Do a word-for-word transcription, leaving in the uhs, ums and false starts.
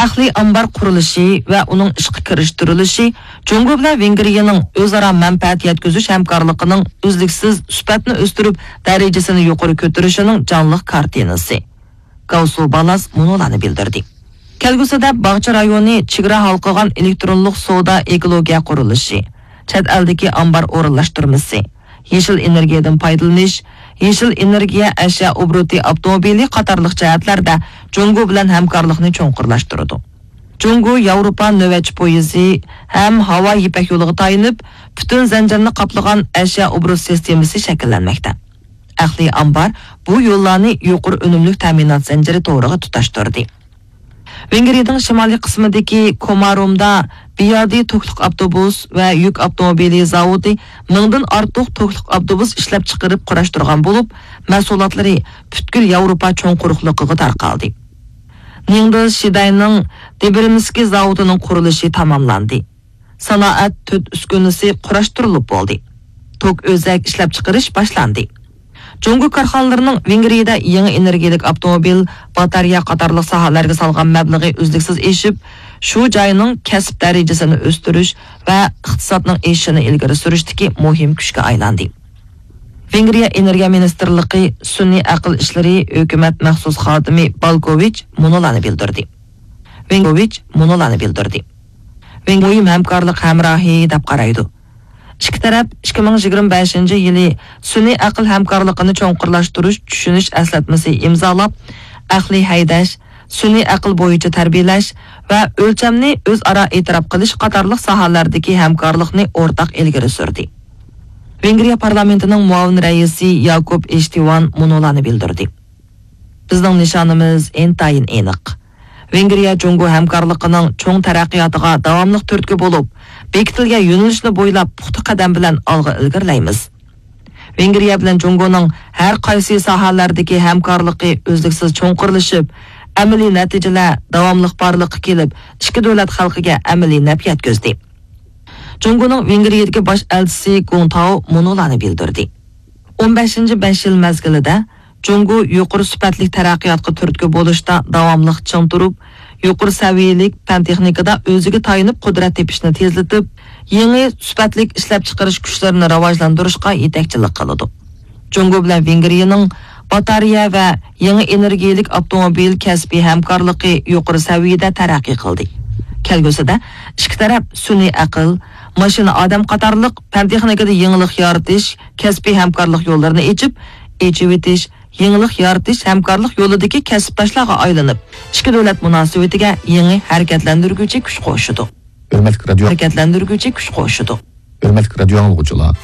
ئەقلىي ئامبار قۇرۇلۇشى ۋە ئۇنىڭ ئىشقا كىرىشتۈرۈلۈشى جۇڭگو بىلەن ۋېنگرىيەنىڭ ئۆزئارا مەنپەئەت يەتكۈزۈش ھەمكارلىقىنىڭ ئۈزلۈكسىز سۈپەتنى ئۆستۈرۈپ، دەرىجىسىنى يۇقىرى كۆتۈرۈشىنىڭ جانلىق كارتىنىسى. گاۋسۇ بالاس مۇنۇلارنى بىلدۈردى. كەلگۈسىدە باغچە رايونى چېگرا ھالقىغان ئېلېكترونلۇق سودا ئېكولوگىيە قۇرۇلۇشى، چەت ئەلدىكى ئامبار ئورۇنلاشتۇرمىسى، يېشىل ئېنېرگىيەدىن پايدىلىنىش، يېشىل ئېنېرگىيە ئەشيا ئوبوروتى ئاپتوموبىلى قاتارلىق جەھەتلەردە جۇڭگو بىلەن ھەمكارلىقنى چوڭقۇرلاشتۇرىدۇ. جۇڭگو ياۋروپا نۆۋەتچى پويىزى ھەم ھاۋا يىپەك يولىغا تايىنىپ، پۈتۈن زەنجىرنى قاپلىغان ئەشيا ئوبوروت سىستېمىسى شەكىللەنمەكتە. ئەقلىي ئامبار بۇ يوللارنى يۇقىرى ئۈنۈملۈك تەمىنات زەنجىرى تورىغا تۇتاشتۇردى. ۋېنگرىيەنىڭ شىمالىي قىسمىدىكى كومارومدا بىيادى توكلۇق ئاپتوبۇس ۋە يۈك ئاپتوموبىلى زاۋۇتى مىڭدىن ئارتۇق توكلۇق ئاپتوبۇس ئىشلەپچىقىرىپ قۇراشتۇرغان بولۇپ، مەھسۇلاتلىرى پۈتكۈل ياۋروپا چوڭ قۇرۇقلۇقىغا تارقالدى. نىڭدېل شىداينىڭ دىبرىمسكى زاۋۇتىنىڭ قۇرۇلۇشى تاماملاندى. سانائەت تۆت ئۈسكۈنىسى قۇراشتۇرۇلۇپ بولدى. توك ئۆزەك ئىشلەپچىقىرىش باشلاندى. جۇڭگو كارخانىلىرىنىڭ ۋېنگرىيەدە يېڭى ئېنېرگىيەلىك ئاپتوموبىل، باتارېيە قاتارلىق ساھەلەرگە سالغان مەبلىغى ئۈزلۈكسىز ئېشىپ، شۇ جاينىڭ كەسىپ دەرىجىسىنى ئۆستۈرۈش ۋە ئىقتىسادنىڭ ئېشىشىنى ئىلگىرى سۈرۈشتىكى مۇھىم كۈچكە ئايلاندى. ۋېنگرىيە ئېنېرگىيە مىنىستىرلىقى سۈنئىي ئەقىل ئىشلىرى ھۆكۈمەت مەخسۇس خادىمى بالكوۋىچ مۇنۇلارنى بىلدۈردى. ۋېنگوۋىچ مۇنۇلارنى بىلدۈردى. ۋېنگ مۇھىم ھەمكارلىق ھەمراھى دەپ قارايدۇ. ئىككى تەرەپ ئىككى مىڭ يىگىرمە بەشىنچى يىلى سۈنئىي ئەقىل ھەمكارلىقىنى چوڭقۇرلاشتۇرۇش چۈشىنىش ئەسلەتمىسى ئىمزالاپ، ئەقلىي ھەيدەش، سۈنئىي ئەقىل بويىچە تەربىيەلەش ۋە ئۆلچەمنى ئۆزئارا ئېتىراپ قىلىش قاتارلىق ساھەلەردىكى ھەمكارلىقنى ئورتاق ئىلگىرى سۈردى. ۋېنگرىيە پارلامېنتىنىڭ مۇئاۋىن رەئىسى ياكوب ئېشتىۋان مۇنۇلارنى بىلدۈردى. بىزنىڭ نىشانىمىز ئىنتايىن ئېنىق. ۋېنگرىيە جۇڭگو ھەمكارلىقىنىڭ چوڭ تەرەققىياتىغا داۋاملىق تۈرتكە بولۇپ، بېكىتىلگەن يۆنىلىشنى بويلاپ پۇختا قەدەم بىلەن ئالغا ئىلگىرىلەيمىز. ۋېنگرىيە بىلەن جۇڭگونىڭ ھەر قايسى ساھەلەردىكى ھەمكارلىقى ئۈزلۈكسىز چوڭقۇرلىشىپ، ئەمەلىي نەتىجىلەر داۋاملىق بارلىققا كېلىپ، ئىككى دۆلەت خەلقىگە ئەمەلىي نەپ يەتكۈزدى. جۇڭگونىڭ ۋېنگرىيەدىكى باش ئەلچىسى گۇڭ تاۋ مۇنۇلارنى بىلدۈردى. ئون بەشىنچى بەش يىل مەزگىلىدە جۇڭگو يۇقىرى سۈپەتلىك تەرەققىياتقا تۈرتكە بولۇشتا داۋاملىق چىڭ تۇرۇپ، يۇقىرى سەۋىيەلىك پەن تېخنىكىدا ئۆزىگە تايىنىپ قۇدرەت تېپىشنى تېزلىتىپ، يېڭى سۈپەتلىك ئىشلەپچىقىرىش كۈچلىرىنى راۋاجلاندۇرۇشقا يېتەكچىلىك قىلىدۇ. جۇڭگو بىلەن ۋېنگرىيەنىڭ باتارېيە ۋە يېڭى ئېنېرگىيەلىك ئاپتوموبىل كەسپىي ھەمكارلىقى يۇقىرى سەۋىيەدە تەرەققىي قىلدى. كەلگۈسىدە ئىككى تەرەپ سۈنئىي ئەقىل، ماشىنا ئادەم قاتارلىق پەن تېخنىكىدا يېڭىلىق يارىتىش، كەسپىي ھەمكارلىق يوللىرىنى ئېچىپ، ئېچىۋېتىش، يېڭىلىق يارىتىش ھەمكارلىق يولىدىكى كەسىپداشلارغا ئايلىنىپ، ئىككى دۆلەت مۇناسىۋىتىگە يېڭى ھەرىكەتلەندۈرگۈچى كۈچ قوشىدۇ. ھۆرمەتلىك رادىيو، ھەرىكەتلەندۈرگۈچى كۈچ قوشىدۇ. ھۆرمەتلىك رادىيو ئاڭلىغۇچىلار،